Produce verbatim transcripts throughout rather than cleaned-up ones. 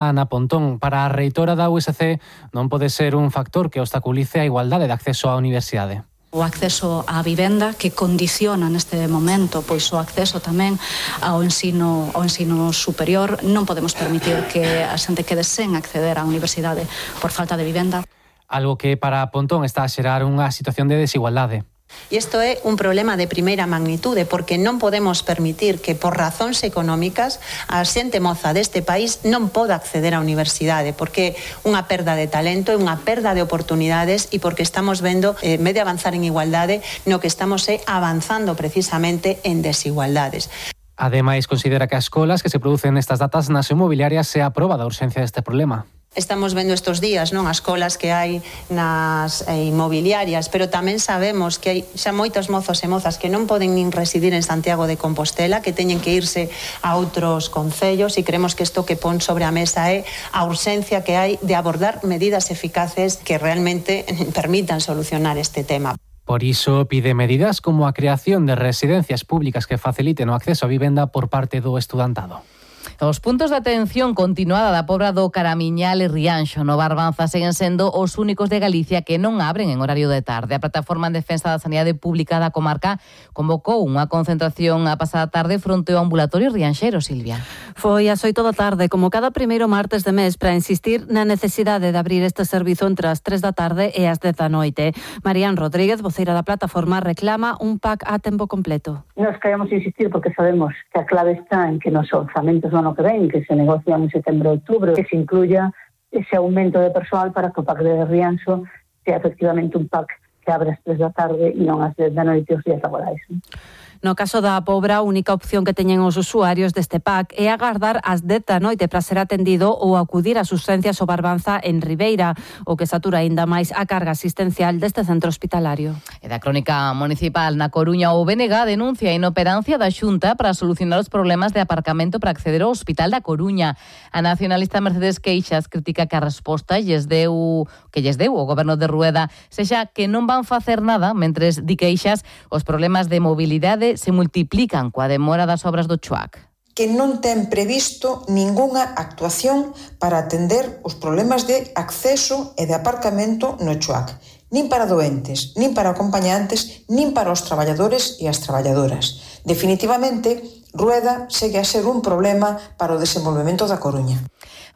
Ana Pontón, para a reitora da U S C non pode ser un factor que obstaculice a igualdade de acceso á universidade. O acceso á vivenda que condiciona neste momento pois o acceso tamén ao ensino ao ensino superior. Non podemos permitir que a xente quede sen acceder á universidade por falta de vivenda. Algo que para Pontón está a xerar unha situación de desigualdade. E isto é un problema de primeira magnitude, porque non podemos permitir que por razóns económicas a xente moza deste país non poda acceder á universidade, porque é unha perda de talento, é unha perda de oportunidades e porque estamos vendo, en vez de avanzar en igualdade, no que estamos é avanzando precisamente en desigualdades. Ademais, considera que as colas que se producen nestas datas nas inmobiliarias se aproba da urxencia deste problema. Estamos vendo estes días, non, as colas que hai nas eh, inmobiliarias, pero tamén sabemos que hai xa moitos mozos e mozas que non poden nin residir en Santiago de Compostela, que teñen que irse a outros concellos, e creemos que isto que pon sobre a mesa é a urxencia que hai de abordar medidas eficaces que realmente permitan solucionar este tema. Por iso pide medidas como a creación de residencias públicas que faciliten o acceso á vivenda por parte do estudantado. Os puntos de atención continuada da Pobra do Caramiñal e Rianxo no Barbanza seguen sendo os únicos de Galicia que non abren en horario de tarde. A Plataforma en Defensa da Sanidade Pública da comarca convocou unha concentración a pasada tarde fronte ao ambulatorio rianxeiro, Silvia. Foi ás oito da tarde, como cada primeiro martes de mes, para insistir na necesidade de abrir este servizo entre as tres da tarde e as dez da noite. Marían Rodríguez, voceira da plataforma, reclama un pack a tempo completo. Nos queremos insistir porque sabemos que a clave está en que nos orzamentos do ano que ven, que se negocian en setembro e outubro, que se incluya ese aumento de persoal para que o pack de Rianxo sea efectivamente un pack que abre as tres da tarde e non as dez da noite os días laborais. No caso da Pobra, a única opción que teñen os usuarios deste pack é agardar ás dez da noite para ser atendido ou acudir ás urxencias ao Barbanza en Ribeira, o que satura aínda máis a carga asistencial deste centro hospitalario. E da crónica municipal na Coruña, o B N G denuncia a inoperancia da Xunta para solucionar os problemas de aparcamento para acceder ao Hospital da Coruña. A nacionalista Mercedes Queixas critica que a resposta lles deu, que lles deu o goberno de Rueda sexa que non van facer nada, mentres di Queixas os problemas de mobilidade se multiplican coa demora das obras do Chuac. Que non ten previsto ningunha actuación para atender os problemas de acceso e de aparcamento no Chuac, nin para doentes, nin para acompañantes, nin para os traballadores e as traballadoras. Definitivamente, Rueda segue a ser un problema para o desenvolvemento da Coruña.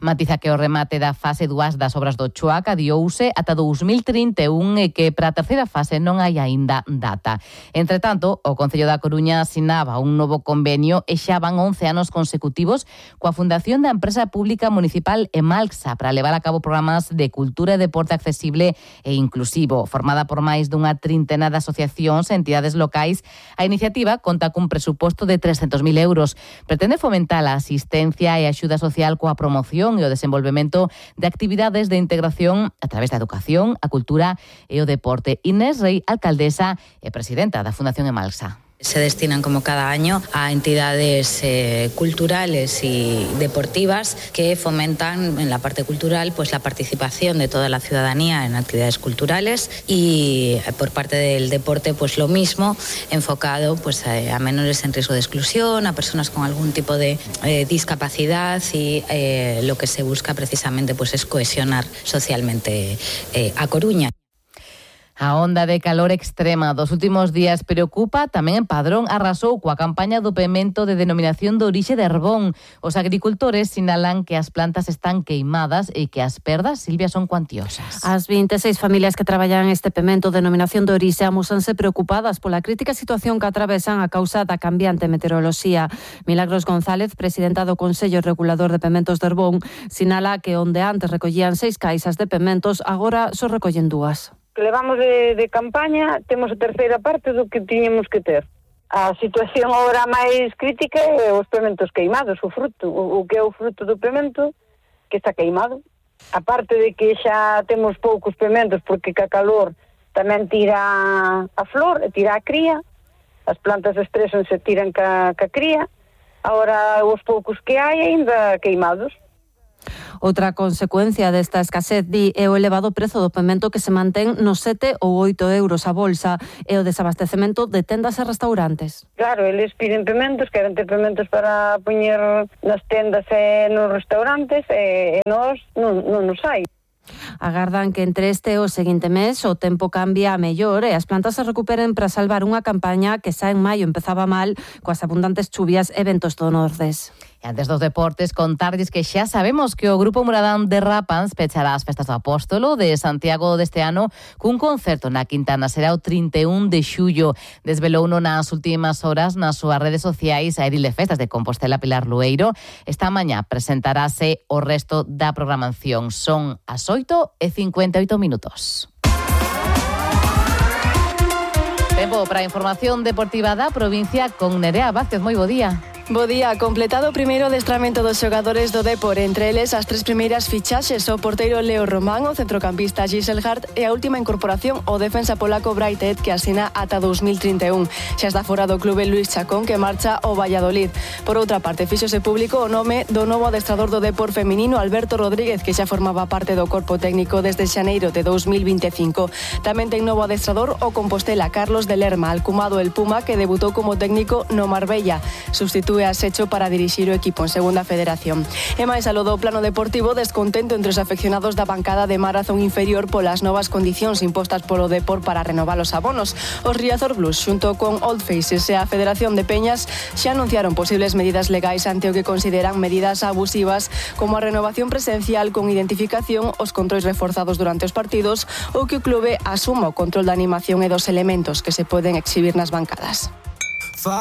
Matiza que o remate da fase dúas das obras do Chuac adiouse ata dous mil trinta e un e que para a terceira fase non hai aínda data. Entre tanto, o Concello da Coruña asinaba un novo convenio e xa van once anos consecutivos coa Fundación da Empresa Pública Municipal Emalxa para levar a cabo programas de cultura e deporte accesible e inclusivo. Formada por máis dunha trintena de asociacións e entidades locais, a iniciativa conta cun presuposto de trescentos mil euros. Pretende fomentar a asistencia e a axuda social coa promoción e o desenvolvemento de actividades de integración a través da educación, a cultura e o deporte. Inés Rey, alcaldesa e presidenta da Fundación Emalxa. Se destinan como cada año a entidades eh, culturales y deportivas que fomentan en la parte cultural pues la participación de toda la ciudadanía en actividades culturales y eh, por parte del deporte pues lo mismo, enfocado pues a, a menores en riesgo de exclusión, a personas con algún tipo de eh, discapacidad y eh, lo que se busca precisamente pues es cohesionar socialmente eh, a Coruña. A onda de calor extrema dos últimos días preocupa tamén en Padrón. Arrasou coa campaña do pemento de denominación de orixe de Herbón. Os agricultores sinalan que as plantas están queimadas e que as perdas, Silvia, son cuantiosas. As vinte e seis familias que traballan este pemento de denominación de orixe amósanse preocupadas pola crítica situación que atravesan a causa da cambiante meteoroloxía. Milagros González, presidenta do Consello Regulador de Pementos de Herbón, sinala que onde antes recollían seis caixas de pementos, agora só recollen dúas. Que levamos de, de campaña, temos a terceira parte do que tiñemos que ter. A situación agora máis crítica é os pementos queimados, o fruto, o, o que é o fruto do pemento, que está queimado. A parte de que xa temos poucos pementos, porque ca calor tamén tira a flor, e tira a cría, as plantas estresan se tiran ca, ca cría, agora os poucos que hai aínda queimados. Outra consecuencia desta escasez, di, é o elevado prezo do pemento que se mantén nos sete ou oito euros a bolsa e o desabastecemento de tendas e restaurantes. Claro, eles piden pementos, queren ter pementos para poñer nas tendas e nos restaurantes e, e nós non, non nos hai. Agardan que entre este e o seguinte mes o tempo cambia a mellor e as plantas se recuperen para salvar unha campaña que xa en maio empezaba mal coas abundantes chuvias e ventos do Nordés. E antes dos deportes, contarlles que xa sabemos que o Grupo Muradán de Rapans pechará as festas do Apóstolo de Santiago deste ano cun concerto na Quintana. Será o trinta e un de xullo. Desvelouno nas últimas horas nas súas redes sociais a edil de festas de Compostela, Pilar Lueiro. Esta mañá presentarase o resto da programación. Son as oito e cincuenta e oito minutos. Tempo para a información deportiva da provincia con Nerea Vázquez. Moi bo día. Bo día, completado o primeiro adestramento dos xogadores do Depor, entre eles as tres primeiras fichaxes, o porteiro Leo Román, o centrocampista Giselle Hart e a última incorporación, o defensa polaco Braitet, que asina ata dos mil trinta e un. Xa está fora do clube Luis Chacón, que marcha ao Valladolid. Por outra parte, fíxose público o nome do novo adestrador do Depor feminino, Alberto Rodríguez, que xa formaba parte do corpo técnico desde xaneiro de dos mil vinte e cinco. Tamén ten novo adestrador o Compostela, Carlos de Lerma, alcumado el Puma, que debutou como técnico no Marbella. Substitúe a Secho para dirixir o equipo en segunda federación. E máis aló do plano deportivo, descontento entre os afeccionados da bancada de Marazón inferior polas novas condicións impostas polo Depor para renovar os abonos. Os Riazor Blues, xunto con Old Faces e a Federación de Peñas, xa anunciaron posibles medidas legais ante o que consideran medidas abusivas, como a renovación presencial con identificación, os controis reforzados durante os partidos ou que o clube asuma o control da animación e dos elementos que se poden exhibir nas bancadas.